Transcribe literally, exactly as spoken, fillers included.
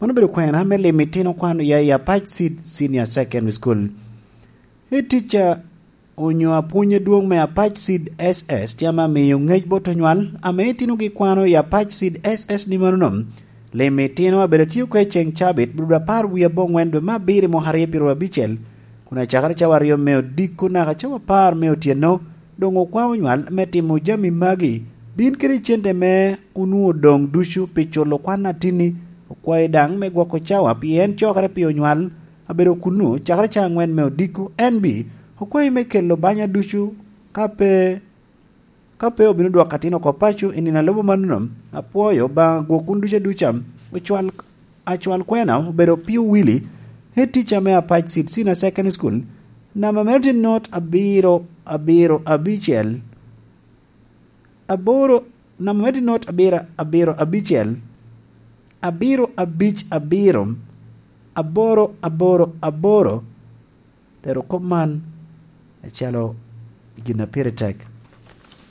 Mano obedo kwena me limo itino kwan oya i Apac Seed Senior Secondary School. Head teacher onyo apwony adwoŋ me Apac Seed S S tye ame amiyo ŋec bot onywal ame itinogi kwano i Apac Seed S S ni mano nom. Limo itino abedo tye oko i ceŋ cabit, bulu apar wie aboŋwen dwe me abiro i mwaka aryo pyeru abicel, kun acakere cawa aryo me odiko naka cawa apar me otyeno, doŋ okwao onywal me timo jami magi. Bin kede cente me onwoŋo doŋ ducu pi culo kwan atinni, okwayi daŋ me gwoko cawa, pien cokere pi onywal abedo kunnu cakere ca aŋwen me odiko. En bi okwayi me kelo banya ducu, ka pe, ka pe obino dwoko atin oko paco i nino a lubo manono. Apwoyo Obaŋa gwok wun ducu aduca. Ocwal, acwal kwena obedo Opio Willy, head teacher me Apac Seed Senior Secondary School, namba mere tye not abiro abiro abicel, aboro, namba mere tye not abiro abiro abicel, abiro abic abiro, aboro aboro aboro. Lero kop man acalo gin a pire tek.